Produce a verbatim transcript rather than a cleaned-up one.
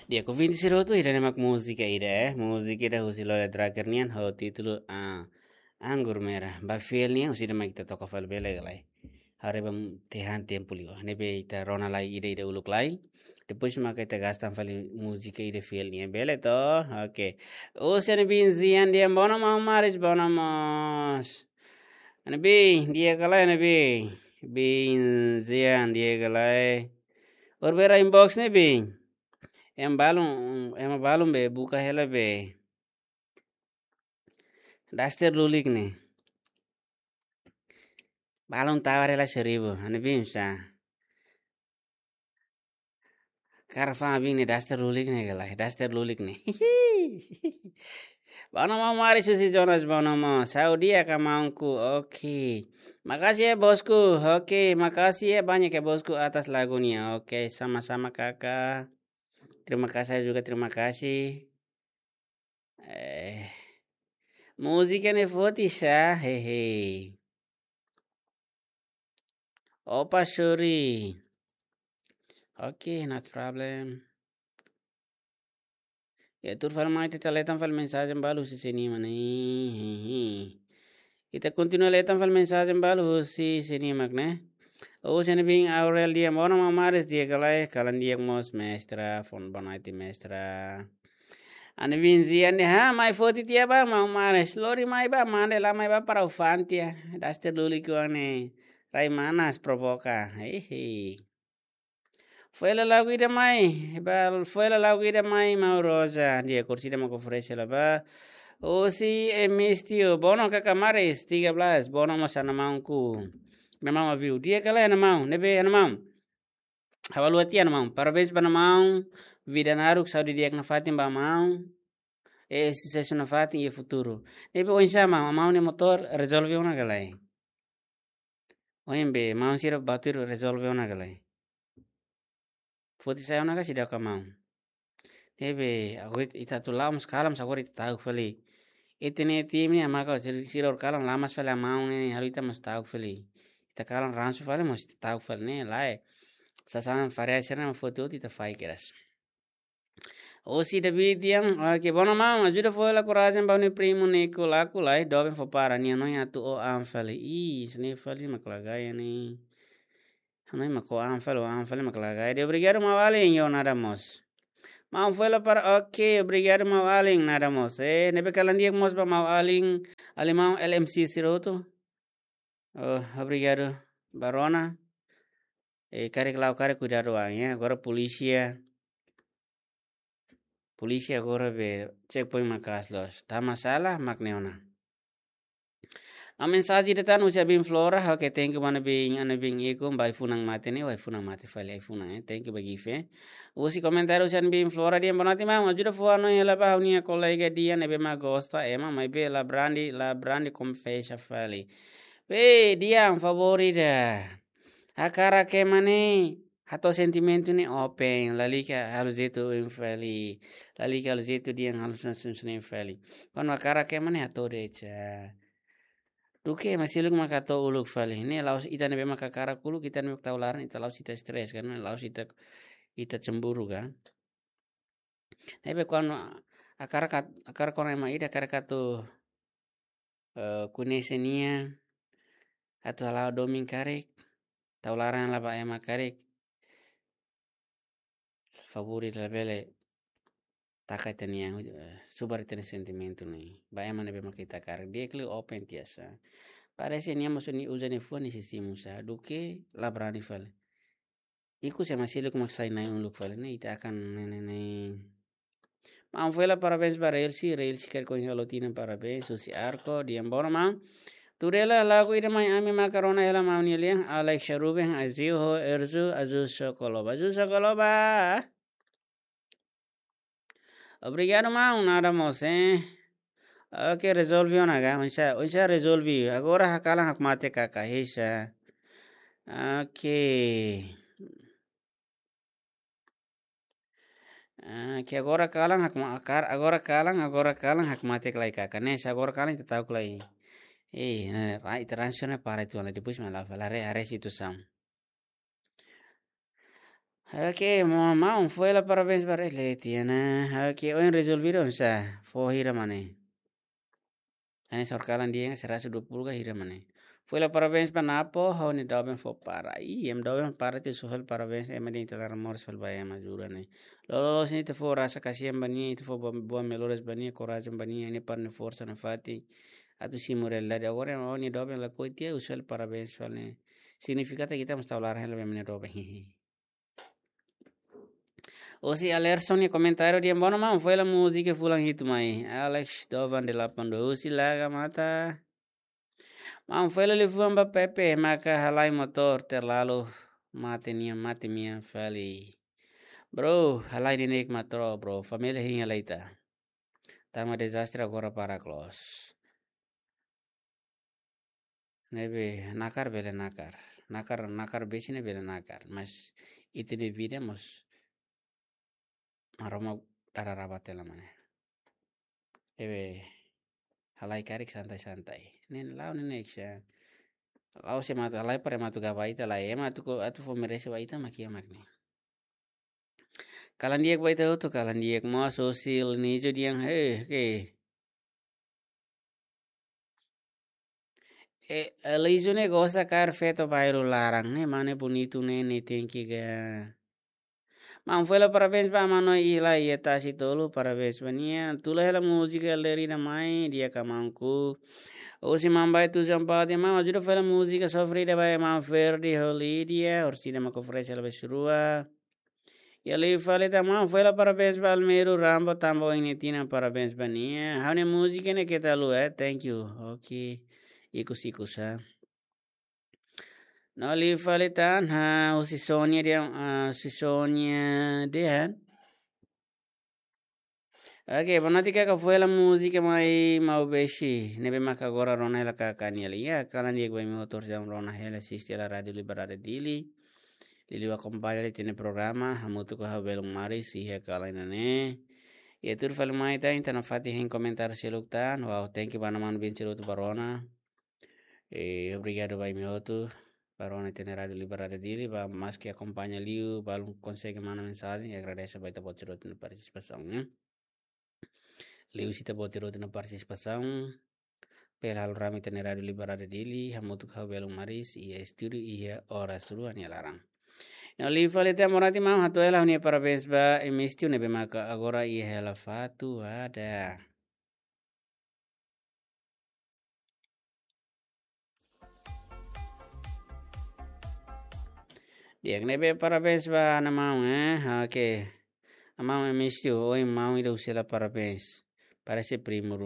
Di'ak ouvinte sira hotu, ida-ne'e mak múzika ida, eh. Múzika ida husi Lola Drager nian, ho títulu, ah, Anggur Merah. Ba fiel nian, husi ida mak ita toka fali bele ka lae. Haree ba tiha tempu liu. Ne'ebé ita rona lai ida-ida uluk lai. Depois maka ita gasta fali múzika ida fiel nian. Bele to? Oke. Husi Ana Bin Zian dehan, "Bono maun Maris, bono mós." Ana Bin, di'ak ka lae Ana Bin? Bin Zian, di'ak ka lae? Orbera inbox ne'e Bin. Ema balun, ema balun be, buka hela be. Daster lulik ne'e. Balun tawar hela seribu, Ana Bin sa. Karfa Bin ne'e daster lulik ne'e ka lae, daster lulik ne'e. Bono maun Maris husi Jonas, bono maun. Saúde ka maunku, oke. Makasih ya bosku, oke. Makasih ya banyak ya bosku atas lagunya, oke. Sama-sama kakak. Terima kasih, saya juga terima kasih. Eh, múzika ne'e foti sa, hehe. Opa, sorry. Oke, not problem. Ya, tuur fali mai ita leta fali mensajen balu husi sira-nia mana, hehe. Ita kontinua leta fali mensajen balu husi sira-nia mak ne'e. Husi Ana Bin Aurel dehan, "Bono maun Maris, di'ak ka lae?" Kalan di'ak mós mestra, fó boa noite mestra. Ana Bin Zian dehan, "Ha, mai foti tiha ba maun Maris. Lori mai ba, mande la mai ba para o fan tiha. Daster lulik ne'e. Rai manas provoka." Hehe. Fó hela lagu ida mai, ba, fó hela lagu ida mai, maun Rosa. Di'ak, kursi ida mak oferese hela ba. Husi Emistio, bono kakak Maris, tiga belas, bono mós Ana Maunku. Memang aviu. Di'ak ka lae Ana Maun, ne'ebé Ana Maun. Ha'u haluha tiha Ana Maun. Parabéns ba Ana Maun, vida naruk, saúde di'ak nafatin ba Ana Maun. Eh, susesu nafatin iha futuru. Ne'ebé oinsá maun, Ana Maun nia motór rezolve ona ka lae? Ohin be, maun sira ba tuir rezolve ona ka lae? Foti sai ona ka seidauk maun? Ne'ebé, agora ita atu la'o mós kalan, agora ita ta'uk fali. Ita-nia tim ne'e, maka sira, sira hotu kalan la mas fali Ana Maun ne'e, halo ita mós ta'uk fali. Ita kalan ransu fali, mós ita ta'uk fali ne'e, lae. Sasán farea sira-ne'e mak foti hotu ita fahe kedas. Husi David dehan, oke, bono maun, ajuda fó hela korajen ba ha'u-nia primu Nico Laku lae, doben fó para, nia hanoin atu o an fali. Ih, sini fali mak la gaya ne'e. Hanoin mak o an fali, o an fali mak la gaya. Dehan obrigadu maun-alin, yo nada mós. Maun fó hela para, oke, obrigadu maun-alin, nada mós. Eh, ne'ebé kalan di'ak mós ba maun-alin, alin maun L M C sira hotu. Oh, obrigadu ba rona. Eh, karik la'o karik kuidadu an, ya. Agora polísia. Polísia agora be checkpoint maka'as loos. Tanba sala mak ne'e ona. No mensajen ida tan husi Ana Bin Flora, oke, thank you ba Ana Bin, Ana Bin ikun, ba ai-funan mate ne'e, ai-funan mate fali ai-funan, eh. Thank you ba gift, eh. Husi komentáriu husi Ana Bin Flora dehan, boa noite maun, ajuda fó hanoin hela ba ha'u-nia kolega Dian ne'ebé mak gosta ema, maibé la brani, la brani konfesa fali. Be, Dian, favór ida. Hakarak ema ne'e hato'o sentimentu ne'e open, lalika halo jeitu oin fali, lalika halo jeitu dehan halo sens-, sens-, sens fali. Kuandu hakarak ema ne'e hato'o de'it sa. Duké ema seluk mak hato'o uluk fali. Ne'e la'ós ita ne'ebé mak hakarak uluk, ita ne'ebé mak tau laran, ita la'ós ita stres kan, la'ós ita, ita cemburu kan. Ne'ebé kuandu hakarak kat-, hakarak kona ema ida, hakarak atu, eh, koñese nia, atu hala'o domin karik, tau laran hela ba ema karik. Favór ida labele taka ita-nia, eh, subar ita-nia sentimentu ne'e. Ba ema ne'ebé mak ita hakarak. Di'ak liu open tiha sa. Parese nia mós nia uza nia fuan nia sei simu sa. Duké la brani fali. Ikus ema seluk mak sai na'in uluk fali ne'e, ita akan ne'e, ne'e, ne'e. Maun fó hela parabéns ba Relsi, Relsi karik ohin halo tinan parabéns, husi Arko, dehan bono maun. Tuur hela lagu ida mai ami maka rona hela maun nia lian, Alex Ruben, Azil ho Erzu, Azul Sokoloba, Azul Sokoloba. Obrigadu maun, nada mós, eh. Oke, rezolve ona ka, oinsá, oinsá rezolve. Agora hakalan hakmatek ka, ka hisa. Oke. Oke, agora kalan hakma-, akar-, agora kalan, agora kalan hakmatek lai ka, ka. Ne'e sa agora kalan ita ta'uk lai. Eh, ne'e, ra-, ita ransu ne'e para ita lai depois mai la fala re, are situasaun. Oke, maun, maun, foin hela parabéns ba Rei Leti, ya, ne'e. Oke, ohin rezolvidu oinsá, fó hira mak ne'e. Hanesan oras kalan dehan seratus dua puluh ka hira mak ne'e. Foin hela parabéns ba Napo, ha'u-nia doben fó para. Ih, ema doben para atu fó hela parabéns, ema dehan ita laran moras fali ba ema, jura ne'e. Loloos ne'e ita fó rasa kasihan ba nia, ita fó boa, boa melhoras ba nia, korajen ba nia, nia para nia forsa nafatin atu simu realidade. Agora, ema, ó-nia doben lakohi tiha, fó hela parabéns fali ne'e. Signifika katak ita mós tau laran hela ba ema nia doben. Husi Alerson nia komentáriu dehan: "Maun, maun, foin hela múzika fulan hitu mai." Alex Dovan delapan dua, husi Laga Mata. "Maun, foin hela liafuan ba Pepe, maka halai motór terlalu mate nian, mate mean fali." Bro, halai neineik motór, bro. Família hein hela ita. Tanba dezastre agora para close. Ne'ebé nakar bele nakar. Nakar, nakar besik ne'e bele nakar. Mas ita-nia vida mós Maromak dada rabat hela mak ne'e. Ne'ebé halai karik santai-santai. Ne'e la'o neineik sá. La'o sé mak atu halai para ema atu gaba ita lai. Ema atu ko, atu fó merese ba ita mak iha mak ne'e. Kalan di'ak ba ita hotu, kalan di'ak mós. Husi Nijo dehan, eh, oke. Eh, Elijo ne'e gosta kaer feto bairru laran, ne'e mane bonitu ne'e, ne'e tenke ga. Maun, foin hela parabéns ba maun Noi Ila iha Tasi Tolu, parabéns ba nia. Tula hela múzika Lerida Mai, di'ak ka maun ku. Husi Mambai tu João Paulo dehan: "Maun, ajuda fó hela múzika Sofrida ba maun Ferdi ho Lídia, orsida mak oferese hela ba sira rua." Iha liu fali tan: "Maun, foin hela parabéns ba Almeiro Rambo, tanba ohin nia tinan, parabéns ba nia." Ha'u-nia múzika ne'e keta haluha, eh? Thank you. Oke. Ikus-ikus, ha. No liu fali tan, ha, husi Sônia dehan, ah, husi Sônia dehan. Oke, boa noite, kaka, foin hela múzika mai Maubesi, ne'ebé maka agora rona hela kaka nia lian. Ya, kalan di'ak ba imi hotu, jam rona hela asiste hela Rádio Liberdade Dili. Liuliu akompaña ita-nia programa, hamutuk ho ha'u Belun Maris, iha kalan ida-ne'e. Ya, tuir fali mai tan, ita nafatin hein komentáriu seluk tan. Wow, thank you ba maun-alin sira hotu ba rona. Eh, obrigadu ba imi hotu ba rona ita-nia Rádio Liberdade Dili, ba maski akompaña liu, balun konsege manda mensajen, agradese ba ita-boot sira hotu nia partisipasaun, ya. Liuhusi ita-boot sira hotu nia partisipasaun, bele halo rame ita-nia Rádio Liberdade Dili, hamutuk ho ha'u Belun Maris, iha estúdiu iha oras rua nia laran. No liu fali tan, boa noite maun, hato'o hela ha'u-nia parabéns ba Emístio ne'ebé maka agora iha hela fatuada. Di'ak, ne'ebé parabéns ba ha'u-nia maun, eh? Oke. Maun Emístio, ohin maun ida fó hela parabéns. Parese primu ruma.